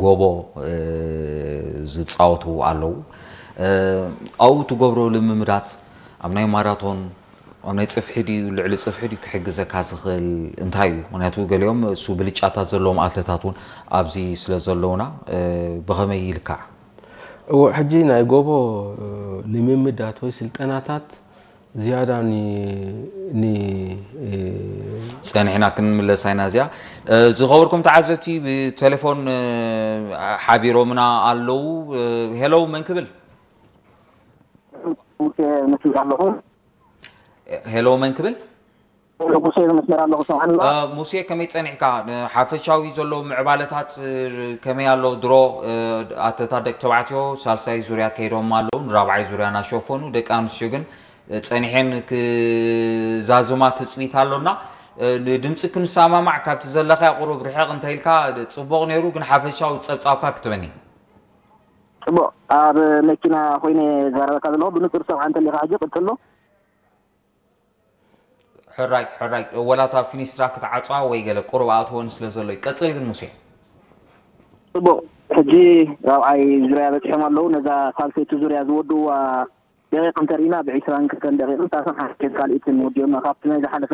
ጎቦ ዝፃወቱ ኣለዉ። ኣብኡ ትገብሮ ልምምዳት ኣብ ናይ ማራቶን ኣብ ናይ ፅፍሒ ድዩ ልዕሊ ፅፍሒ ድዩ ክሕግዘካ ዝኽእል እንታይ እዩ? ምክንያቱ ገሊኦም እሱ ብልጫታት ዘለዎም ኣትለታት እውን ኣብዚ ስለ ዘለውና ብኸመይ ይልካዕ? እዎ ሕጂ ናይ ጎቦ ልምምዳት ወይ ስልጠናታት ዝያዳ ኒ ኒ ጸኒሕና ክንምለሳ ኢና እዚኣ። ዝኸበርኩም ተዓዘብቲ ብቴሌፎን ሓቢሮምና ኣለዉ። ሄሎ መን ክብል? ሙሴ መስመር ኣለኹ። ሄሎ መን ክብል? ሙሴ መስመር ኣለኹ። ሰምዓኒ ኣለኻ? ሙሴ ከመይ ጸኒሕካ? ሓፈሻዊ ዘሎ ምዕባለታት ከመይ ኣሎ? ድሮ ኣተታት ደቂ ተባዕትዮ ሳልሳይ ዙርያ ከይዶም ኣለዉ፣ ንራብዓይ ዙርያ እናሸፈኑ፣ ደቂ ኣንስትዮ ግን ጸኒሐን ክዛዝማ ትጽቢት ኣሎና። ንድምጺ ክንሰማማዕ ካብቲ ዘለኻዮ ቁሩብ ርሕቕ እንተኢልካ ጽቡቕ ነይሩ፣ ግን ሓፈሻዊ ጸብጻብካ ክትበኒ። ጽቡቕ፣ ኣብ መኪና ኮይነ ዛረበካ ዘለኹ ብንጹር ሰምዓ እንተሊኻ ሕጂ ቅጽሎ። ሕራይ ሕራይ ወላ እታ ፊኒስትራ ክትዓጽዋ ወይ ገለ ቁሩብ ኣእትወን ስለ ዘሎ እዩ። ቀጽል ግን ሙሴ። ጽቡቕ፣ ሕጂ ራብዓይ ዙርያ በጺሖም ኣለዉ። ነዛ ሳልሰይቲ ዙርያ ዝወድእዋ ደቂቕ እንተርኢና ብ ዒስራን ክልተን ደቂቕን ሰላሳን ሓደን ካልኢትን ወዲኦማ። ካብቲ ናይ ዝሓለፈ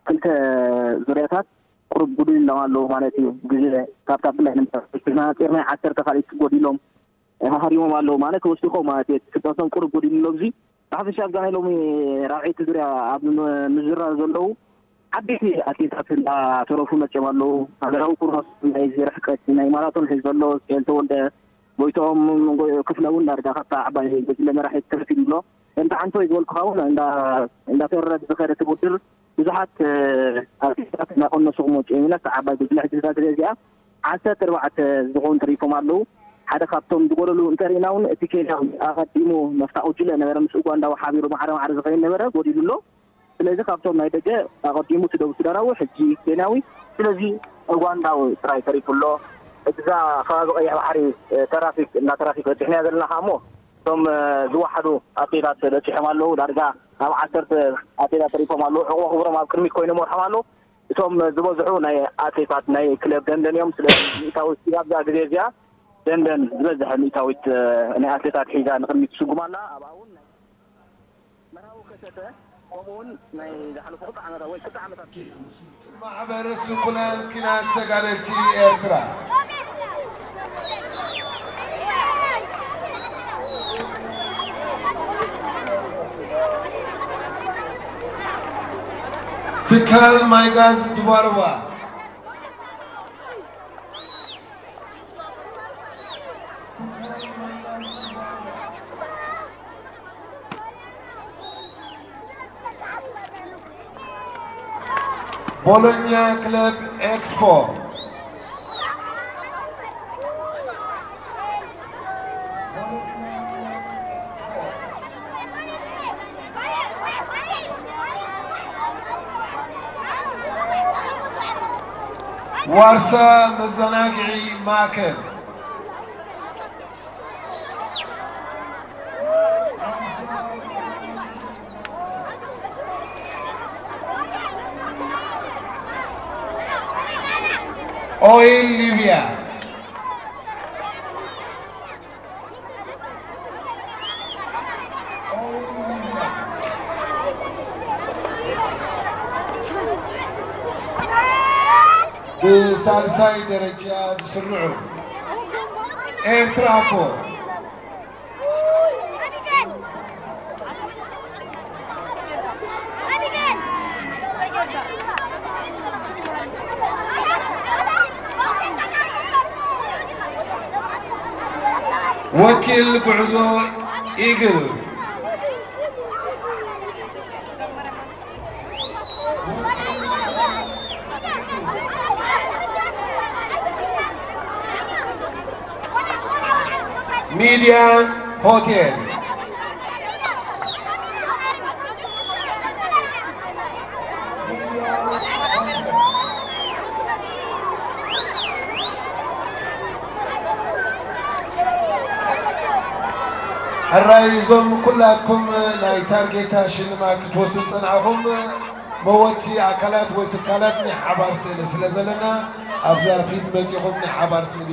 ክልተ ዙርያታት ቁሩብ ጉድል ኢሎም ኣለዉ ማለት እዩ። ግዜ ካብታ ብላይ ንምናፂርና ዓሰርተ ካልኢት ጎዲሎም ሃሪሞም ኣለዉ ማለት ወሲኾም ማለት እዩ። ፍጥነቶም ቁሩብ ጎዲሉ ኣሎ። እዚ ብሓፈሻ ኣብዛ ናይ ሎሚ ራብዐይቲ ዙርያ ኣብ ምዝራብ ዘለዉ ዓበይቲ ኣትሌታት እንዳተረፉ መፅዮም ኣለዉ። ሃገራዊ ኩርኖስ ናይ ርሕቀት ናይ ማራቶን ሒዙ ዘሎ ስኬል ተወልደ፣ ጎይትኦም ክፍለ እውን ዳርጋ ካብታ ዓባይ ጉጅለ መራሒ ተረፊዱ ኣሎ። ከምቲ ዓንቶይ ዝበልኩኻ እውን እንዳተወረደ ዝኸደ እቲ ውድድር ብዙሓት ኣትሌታት እናቐነሱ ክመፅኡ ኢና። ኣብታ ዓባይ ጉጅለ ሕጂ እዛ ግዜ እዚኣ ዓሰርተ ኣርባዕተ ዝኾኑ ተሪፎም ኣለዉ። ሓደ ካብቶም ዝጎደሉ እንተሪእና እውን እቲ ኬንያዊ ኣቐዲሙ ናብታ ጉጅለ ነበረ ምስ ኡጋንዳዊ ሓቢሩ ማዕረ ማዕረ ዝኸይድ ነበረ፣ ጎዲሉ ኣሎ። ስለዚ ካብቶም ናይ ደገ ኣቐዲሙ እቲ ደቡብ ሱዳናዊ ሕጂ ኬንያዊ፣ ስለዚ ኡጋንዳዊ ጥራይ ተሪፉ ኣሎ። እዛ ከባቢ ቀይሕ ባሕሪ ተራፊክ እንዳ ተራፊክ በፂሕናያ ዘለና ከዓ እሞ እቶም ዝወሓዱ ኣትሌታት በፂሖም ኣለዉ። ዳርጋ ኣብ ዓሰርተ ኣትሌታት ተሪፎም ኣለዉ። ሕቆ ክብሮም ኣብ ቅድሚት ኮይኑ መርሖም ኣለዉ። እቶም ዝበዝሑ ናይ ኣትሌታት ናይ ክለብ ደንደን እዮም። ስለዚ ሚእታዊት ኣብዛ ግዜ እዚኣ ደንደን ዝበዝሐ ሚእታዊት ናይ ኣትሌታት ሒዛ ንቅድሚት ትስጉም ኣላ። ኣብኣ እውን ናይ መርሃዊ ከሰተ ከምኡ እውን ናይ ዝሓለፉ ክልተ ዓመታት ወይ ክልተ ዓመታት ማሕበር ስንኩላን ኲናት ተጋደልቲ ኤርትራ። ትካል ማይ ጋዝ ድባርባ። ቦሎኛ ክለብ ኤክስፖ። ዋርሳ መዘናግዒ ማእከል። ኦይል ሊብያ። ብሳልሳይ ደረጃ ዝስርዑ ኤርትራ እኮ ወኪል ጉዕዞ ኢግል። ሚድያን ሆቴል። ሕራይ እዞም ኩላትኩም ናይ ታርጌታ ሽልማት ክትወስዱ ዝጸናሕኩም መወቲ ኣካላት ወይ ትካላት ናይ ሓባር ስእሊ ስለ ዘለና ኣብዛ ፊት መጺኹም ናይ ሓባር ስእሊ